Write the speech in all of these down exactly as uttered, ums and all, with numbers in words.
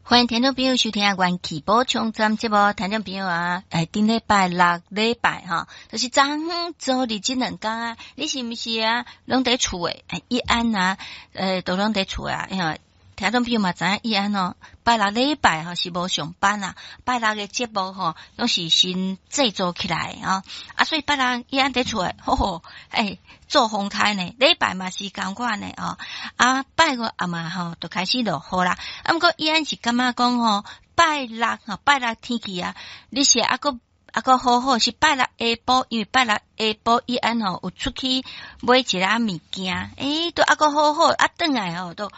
歡迎聽眾朋友收聽《元氣補充站》節目。聽眾朋友啊，欸，頂禮拜六禮拜吼，就是昨昏昨日這兩工啊，你是毋是啊？攏佇厝的，伊安啊，欸，都攏佇厝啊，因為聽眾朋友嘛知影伊安哦，拜六禮拜吼是無上班啊，拜六的節目吼攏是先製作起來啊，啊，所以拜六伊安佇厝的，吼吼，欸，做風颱呢，禮拜嘛是仝款的哦，啊，拜五暗嘛吼就開始落雨啦，啊，毋過伊安是感覺講吼，拜六吼拜六天氣啊，你是猶閣猶閣好好，是拜六下晡，因為拜六下晡伊安吼有出去買一下物件，欸，都猶閣好好，啊，轉來吼都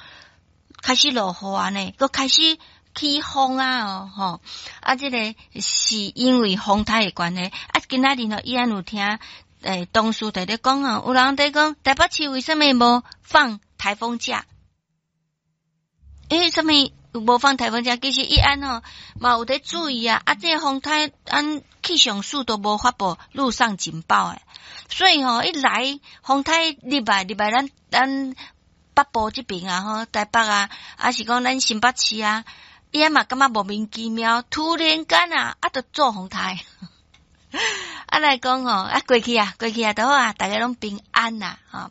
開始落雨啊呢，閣開始起風啊哦吼，啊，這個是因為風颱的關係，啊，今仔日吼伊安有聽欸同事佇咧講哦，有人佇講台北市為啥物無放颱風假？欸，啥物無放颱風假？其實伊安吼嘛有佇注意啊，啊，這個風颱按氣象署都無發布陸上警報的，所以吼一來風颱入來入來咱咱北部這邊啊吼，台北啊，還是講咱新北市啊，伊嘛感覺莫名其妙，突然間啊，啊，就做風颱。啊來講吼，啊過去啊，過去啊，都好啊，大家攏平安啦，吼。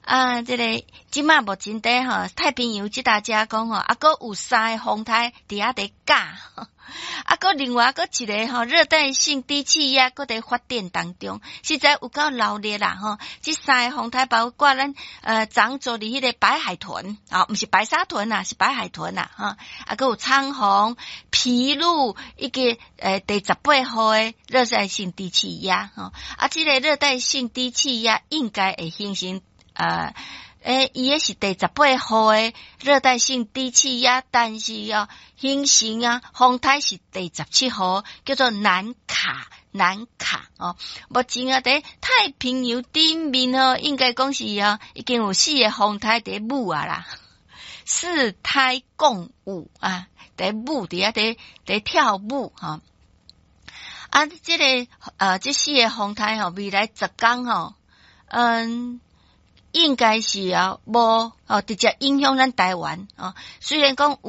啊，這個這馬目前佇吼太平洋這搭遮講吼，啊，閣有三个風颱佇遐佇咬，啊，閣另外閣一个吼熱帶性低氣壓閣佇發展當中，實在有夠鬧熱啦吼。這三个風颱包括咱呃長做佇彼个白海豚啊，毋是白沙屯啊，是白海豚啦，吼。啊，閣有長虹、皮鷺以及呃第十八號的熱帶性低氣壓吼。啊，這个熱帶性低氣壓應該會形成。呃，欸，伊彼是第十八號的熱帶性低氣壓，但是哦，形成啊，風颱是第十七號，叫做南卡，南卡哦。目前啊，佇太平洋頂面哦，應該講是哦，已經有四個風颱佇舞啊啦，四颱共舞啊，佇舞佇遐佇佇跳舞吼。啊，這个呃，這四个風颱吼，未來十工吼，嗯。應該是啊，無哦，直接影響咱台灣哦。雖然講。